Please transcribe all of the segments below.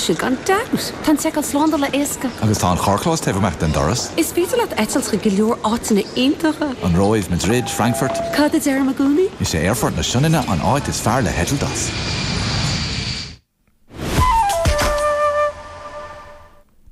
sin gan dabht! Tá an tseiceáil slándála éasca. Agus tá an carrchlós taobh amuigh den doras. Is féidir leat eitilt chuig go leor áiteanna iontacha. An Róimh, Madrid, Frankfurt. Cad a deirim i gcónaí? Is é Aerfort na Sionainne an áit is fearr le heitilt as.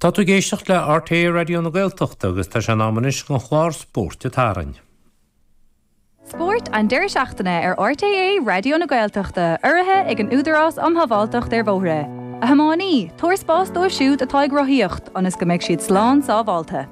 Tá tú ag éisteacht le RTÉ Raidió na Gaeltachta agus tá sé in am anois don chlár Spóirt an tSathairn. Spórt an deireadh seachtaine ar RTÉ Raidió na Gaeltachta, urraithe ag an Údarás um Shábháilteacht ar Bhóithre. A thiománaí, tabhair spás dóibh siúd atá ag rothaíocht, ionas go mbeidh siad slán sábháilte.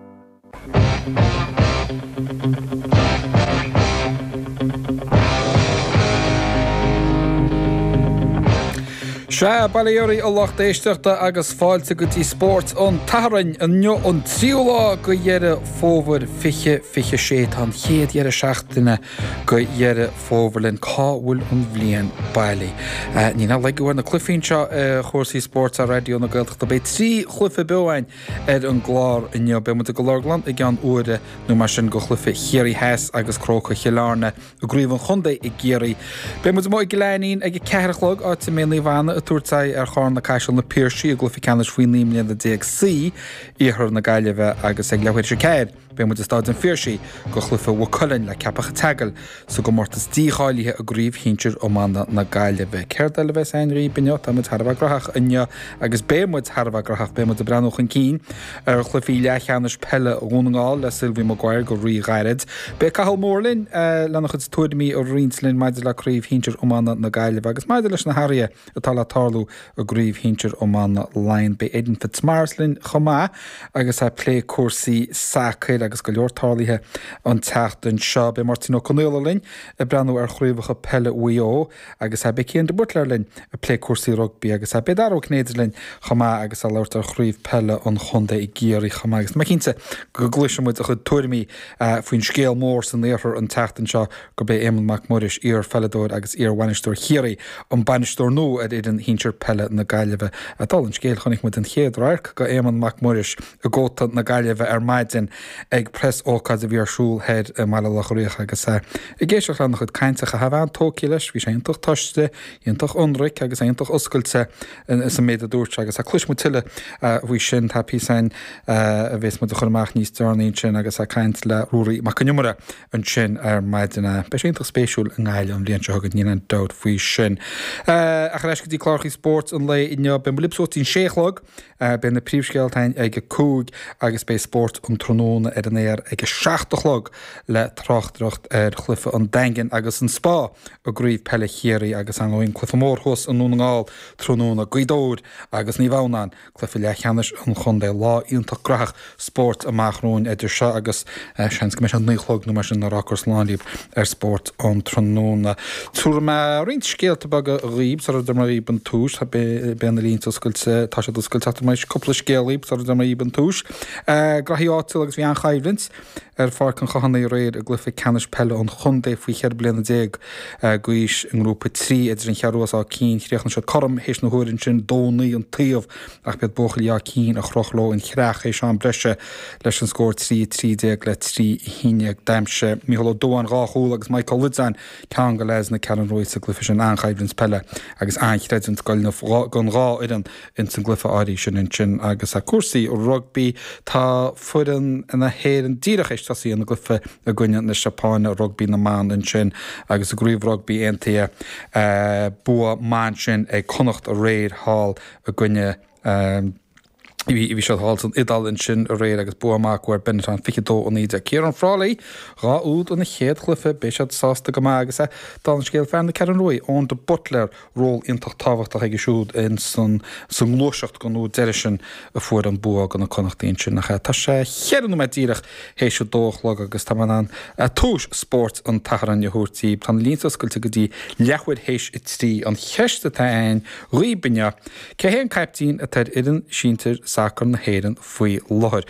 Sea, bail ó Dhia oraibh a lucht éisteachta agus fáilte go dtí Spórt an tSathairn. Inniu an tríú lá de Dheireadh Fómhair 2026. Tá an chéad dheireadh seachtaine de Dheireadh Fómhair linn. Cá bhfuil an bhliain bailithe? Níl aon lagú ar na cluichí anseo ar chúrsaí spóirt ar Raidió na Gaeltachta. Beidh 3 chluiche beo againn ar an gclár inniu. Beidh muid ag an Lorglann i gceann uaire nó mar sin do chluiche Chiarraí Theas agus Crócaigh Chill Airne i gCraobh an Chontae i gCiarraí. Beidh muid amuigh i gCill Ainnín ag a 4 a chlog, áit a mbeidh Naomh Anna ag tabhairt aghaidh ar Charna Caiseal Na Piarsaigh i gcluiche ceannais faoi 19 mbliana C, Iarthar na Gaillimhe agus ag leathuair tar éis a 4. Beidh muid i Stáid an Phiarsaigh do chluiche Mhaigh Cuilinn le Ceapach an tSeagail sa gcomórtas dícháilithe i gCraobh Shinsir Iomána na Gaillimhe. Céard eile a bheas againn dhaoib inniu? Tá muid thar a bheith graitheach inniu agus beidh muid thar a bheith graitheach. Beidh muid ag breathnú chun cinn ar chluichí leathcheannais peile Dhún na nGall le Sylvie Maguire go rí-ghairid. Beidh Cathal Moore linn lena chuid tuairimí a roinnt linn maidir le Craobh Shinsir Iomána na Gaillimhe agus maidir leis na hathruithe atá le tarlú i gCraobh Shinsir Iomána Laighean. Beidh Aidan Fitzmaurice linn chomh maith agus é ag plé cúrsaí sacair agus go leor tarlaithe an tseachtain seo. Beidh Máirtín Ó Conaola linn ag breathnú ar chraobhacha peile Mhaigh Eo agus beidh Cian de Buitléar linn ag plé cúrsaí rugbaí agus beidh Dara Ó Cinnéide linn chomh maith agus é ag labhairt ar chraobh peile an chontae i gCiarraí chomh maith agus tá mé cinnte go gcloisfidh muid a chuid tuairimí faoin scéal mór san iarthar an tseachtain seo gurb é Éamonn Mac Muiris, iar-pheileadóir agus iar-bhainisteoir Chiarraí, an bainisteoir nua ar fhoireann shinsir peile na Gaillimhe. Dála an scéil, chonaic muid an chéad radharc de Éamonn Mac Muiris i gcóta na Gaillimhe ar maidin ag preas-ócáid a bhí ar siúl thoir i mBaile Locha Riach agus é ag éisteacht lena chuid cainte, chaithfeá a bheith an-tógtha leis, bhí sé iontach tomhaiste, iontach ionraic agus iontach oscailte sa méid a dúirt sé agus cloisfidh muid tuilleadh faoi sin. Tá píosa againn a bheas muid a chur amach níos deireanaí ansin agus é ag caint le Ruairí Mac Con Iomaire ansin ar maidin. Beidh sé iontach spéisiúil i nGaillimh an bhliain seo chugainn, níl aon dabht faoi sin. Ach ar ais go dtí clárachaí spóirt an lae inniu, beidh muid libh suas dtí'n sé a chlog, beidh na príomhscéalta againn ag a 5 agus beidh spórt an tráthnóna ar an aer ag a 7 a chlog le tráchtaireacht ar chluiche an Daingin agus an Spá i gCraobh Peile Chiarraí agus ar ndóigh an cluiche mór thuas i nDún na nGall tráthnóna, Gaoth Dobhair agus Naomh Adhamhnáin. Cluiche leathcheannais an chontae. Lá iontach graitheach spóirt amach romhainn idir seo agus seans go mbeidh sé 9 a chlog nó mar sin nuair a fhágfar slán libh ar Spórt an Tráthnóna. Tabharfaidh mé roinnt scéalta beaga dhaoib sara dtabharfaidh mé dhaoib an tomhas. Beidh na línte oscailte, tá siad oscailte ach tabharfaidh mé cúpla scéal dhaoib sara dtabharfaidh mé dhaoib an tomhas. Graithí áitiúla agus bhí an-choimhlint ar Pháirc an Chathánaigh aréir i gcluiche ceannais peile an chontae faoi 14 bliana d'aois i nGrúpa 3 idir an Cheathrú agus Áth Cinn. Chríochnaigh siad cothrom théis na huaire ansin, 2-9 an taobh ach b'iad buachaillí Áth Cinn a chroch leo an chreach théis am breise leis an scór 3-13 le 3-11. D'aimsigh Mícheál Ó Dubháin dhá chúl agus Mike Ó Loideáin ceann do leaids na Ceathrún Rua sa gcluiche sin. An-choimhlint peile agus an-chreidiúint don dhá fhoireann ins an gcluiche áirithe sin ansin. Agus cúrsaí rugbaí, tá foireann na hÉireann díreach théis tosaí ina gcluiche i gcoinne na Seapáine, rugbaí na mban ansin, agus i gCraobh Rugbaí Aontaithe, bua maith ansin ag Connacht aréir thall i gcoinne, bhí siad thall san Iodáil ansin aréir agus bua maith acu ar Benetton 22 19. Ciarán Frawley, dhá úd ina chéad chluiche, beidh siad sásta go maith agus dála an scéil fear na Ceathrún Rua, Eoin de Buitléar, ról iontach tábhachtach aige siúd in san sa ngluaiseacht don úd deiridh sin a fuair an bua do na Connachtaigh ansin. Ach tá sé cheithre nóiméad díreach théis a dó a chlog agus tá mé in ann tomhas spóirt an tSathairn a thabhairt daoibh. Tá na línte oscailte go dtí leathuair théis a trí. An cheist atá againn dhaoib inniu, cé hé an caiptín atá ar fhoireann sinsir. sacair na hÉireann faoi láthair.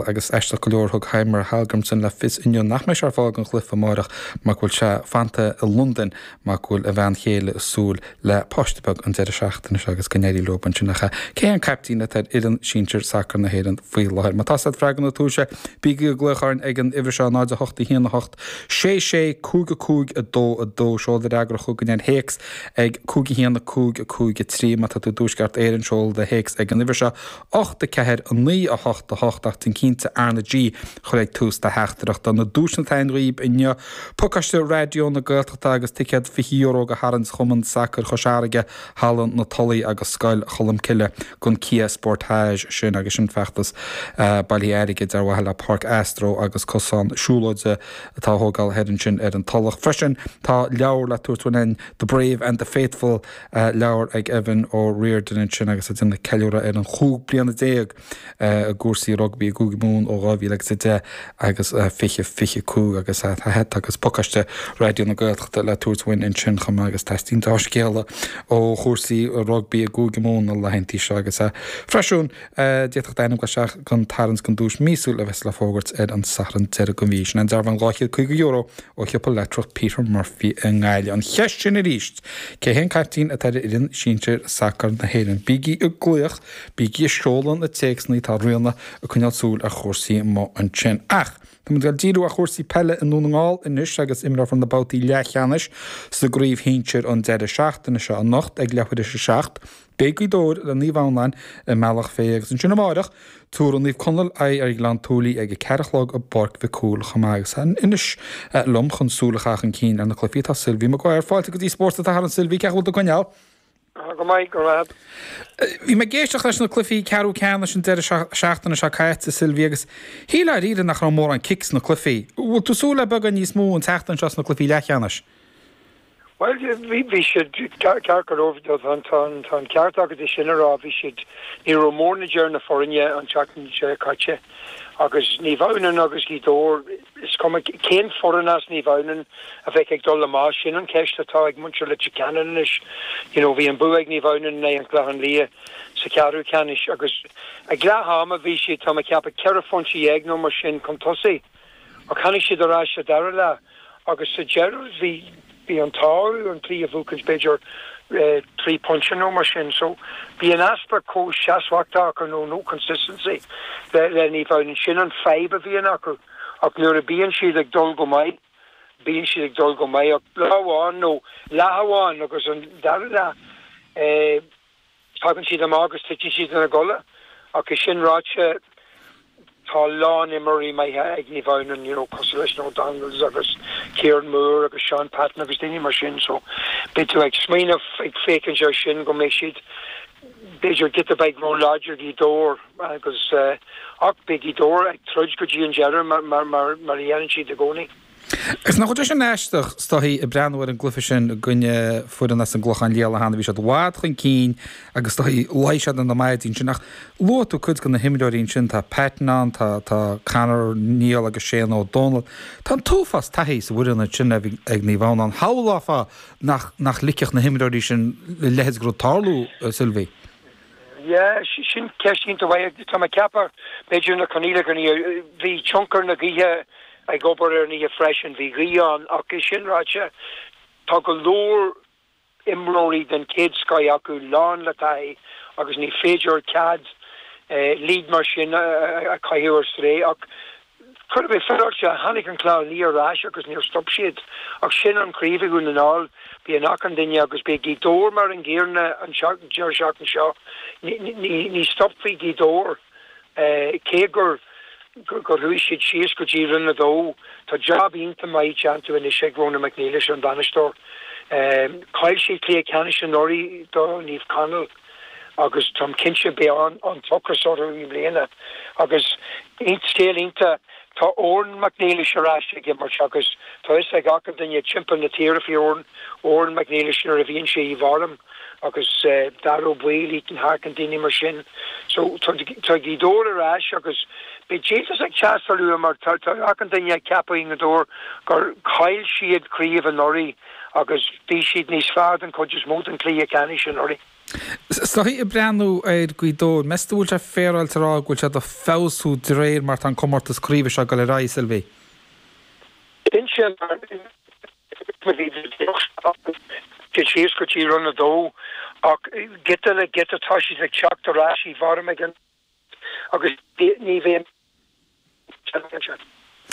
Agus aisteach go leor thug Heimir Hallgrímsson le fios inniu nach mbeidh sé ar fáil don chluiche amáireach mar go bhfuil sé fanta i Londain mar go bhfuil a bhean chéile ag súil le páiste beag an deireadh seachtaine seo agus go n-éirí leo ansin. Ach cé hé an caiptín atá ar fhoireann sinsir sacair na hÉireann faoi láthair? Má tá a fhios agat freagra na tomhaise, bígí ag glaoch orainn ag an uimhir seo, 0 8 1 8 6 6 5 5 2 2. Seol do fhreagra chugainn ar théacs ag 5 1 5 5 3. Má tá tú i dTuaisceart Éireann, seol do théacs ag an uimhir seo, 8 4 9 8 8 ach déan cinnte RnaG a chur ag tús do theachtaireachta. Na duaiseanna atá againn dhaoib inniu, pacáiste Raidió na Gaeltachta agus ticéad €20 do tharraingt Chumann Sacair Chois Fharraige, Halla na Tulaí agus Scoil Cholmcille don Kia Sportage sin agus sin feachtas bailithe airgid ar mhaithe le Páirc Astro agus cosán siúlóide atá á thógáil thoir ansin ar an Tulach. Freisin tá leabhar le tabhairt uainn, The Brave and the Faithful, leabhar ag Evan O'Riordan ansin agus ag déanamh ceiliúradh ar an chúig bliana déag i gcúrsaí rugbaí i gCúige Mumhan ó 2010 agus 2025 agus tá hata agus pacáiste Raidió na Gaeltachta le tabhairt uainn ansin chomh maith agus teastaíonn dea-scéala ó chúrsaí rugbaí i gCúige Mumhan na laethantaí seo agus freisin d'fhéadfadh d'ainm dul isteach don tarraingt don duais míosúil a bheas le fógairt ar an Satharn deireadh den mhí. Sin an dearbhán €250 ó shiopa leictreach Peter Murphy i nGaillimh. An cheist sin arís, cé hé an caiptín atá ar fhoireann sinsir sacair na hÉireann? Bígí ag glaoch, bígí ag seoladh na téacsanna, tá Ríona ag coinneáil súil ar chúrsaí amuigh ansin. Ach, tá muid ag díriú ar chúrsaí peile i nDún na nGall anois agus imreofar na babhtaí leathcheannais sa gcraobh shinsir an deireadh seachtaine seo anocht ag leathuair tar éis a 7. Beidh Gaoth Dobhair le Naomh Adhamhnáin i mBealach Féich agus ansin amáireach, tabharfaidh Naomh Conaill aghaidh ar Ghleann tSúilí ag a ceathair a chlog i bPáirc Mhic Cumhaill chomh maith agus anois liom chun súil a chaitheamh chun cinn ar na cluichí tá Sylvie Maguire. Fáilte go dtí Spórt an tSathairn Sylvie, cén chaoi a bhfuil tú ag coinneáil? Go maith, go raibh. Bhí mé ag éisteacht leis na cluichí ceathrú ceannais an deireadh seachtaine seo caite, Sylvie, agus shílfeá dáiríre nach raibh mórán cic sna cluichí. Bhfuil tú ag súil le beagán níos mó an tseachtain seo sna cluichí leathcheannais? Bhuel, bhí siad ceart go leor, tá an ceart agat é sin a rá, bhí siad, ní raibh mórán idir na foirne an tseachtain seo caite agus Naomh Adhamhnáin agus Gaoth Dobhair, is cuma cén foireann as Naomh Adhamhnáin a bheadh ag dul amach, sin an cheist atá ag muintir Leitir Ceanainn anois. You know, bhí an bua ag Naomh Adhamhnáin in aghaidh an Chlochán Liath sa cheathrú ceannais agus ag leath ama bhí siad, tá mé ag ceapadh, ceithre phointe dhéag nó mar sin chun tosaigh. Ach tháinig siad ar ais sa dara leath agus sa deireadh bhí bhí an t-ádh orthu an cluiche a bhuachaint b'fhéidir 3 pointe nó mar sin. So bhí an easpa comhsheasmhachta acu nó no consistency le le Naomh Adhamhnáin. Sin an fadhb a bhíonn acu ach nuair a bíonn siad ag dul go maith bíonn siad ag dul go maith ach lá amháin nó leath amháin agus an dara leath eh, Tagann siad amach agus titeann siad ina gcodladh. Ach é sin ráite, tá a lán imreoirí maithe ag Naomh Adhamhnáin, you know, cosúil leis na O'Donnells agus Kieran Moore agus Seán Patton agus daoine mar sin. So, beidh tú ag smaoineamh, ag féachaint air sin go mbeidh siad, b'fhéidir, giota beag ró-láidir Gaoth Dobhair agus, ach beidh Gaoth Dobhair ag troid go dtí an deireadh mar, mar, mar, mar a dhéanann siad i gcónaí. Agus nach bhfuil sé sin aisteach, is dóichí, ag breathnú ar an gcluiche sin i gcoinne foireann as an gClochán Liath an lá cheana, bhí siad i bhfad chun cinn agus is dóichí luigh siad ina maidí ansin. Ach luaigh tú cuid de na himreoirí ansin, tá Patton ann, tá tá Conor Neill agus Shane Ó Dónaill. Tá an t-uafás taithí sa bhfoireann ansin ag Naomh Adhamhnáin. Shamhlófá nach nach ligfeadh na himreoirí sin a leithéid de rud tarlú, Sylvie. Yeah, sin ceist iontach mhaith. Tá mé ag ceapadh, b'fhéidir na coinníollacha, bhí tionchar na gaoithe ag obair ar an oíche freisin, bhí gaoth ann ach é sin ráite, tá go leor imreoirí den chéad scoith acu, lán le taithí agus ní féidir cead lead mar sin a chaitheamh ar strae ach Chóir a bheith féaráilte, tháinig an Clochán Liath ar ais agus níor stop siad. Ach sin an chraobh i Dhún na nGall, bíonn achan duine agus beidh Gaoth Dobhair mar an gcéanna an deireadh seachtaine seo. Ní stopfaidh Gaoth Dobhair cé gur gur chuaigh siad síos go dtí Roinn 2. Tá jab iontach maith déanta anois ag Ronan McNeilis, an bainisteoir. Chaill siad cluiche ceannais anuraidh do Naomh Conaill. agus táim cinnte beidh an t-ocras orthu i mbliana. Agus scéal iontach, tá Odhrán Mac Niallais ar ais ag imirt agus tá fhios ag achan duine timpeall na tíre faoi Odhrán, Odhrán Mac Niallais nuair a bhíonn sé i bhform agus Daire Ó Baoill, Ethan Harkin, daoine mar sin. So tá Gaoth Dobhair ar ais agus beidh díoltas ag teastáil uathu mar tá achan duine ag ceapadh i nGaoth Dobhair gur chaill siad craobh anuraidh agus bhí siad níos fearr den chuid is mó den chluiche ceannais anuraidh. Is dóichí ag breathnú ar Gaoth Dobhair, meas tú bhfuil sé féaráilte a rá go bhfuil siad ag feabhsú de réir mar tá an comórtas craoibhe seo ag dul ar aghaidh, Sylvie? Cinnte, mar bhí siad síos go dtí Roinn 2 ach giota le giota tá siad ag teacht ar ais i bhform ag an agus ní bhíonn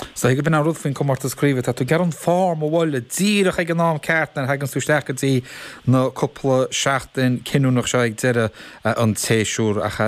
Is dóichí gurb in an rud faoin comórtas craoibhe, tá tú ag iarraidh an form a bhualadh díreach ag an am ceart nuair a thaganns tú isteach go dtí na cúpla seachtain cinniúnach seo ag deireadh an tséasúir. Ach.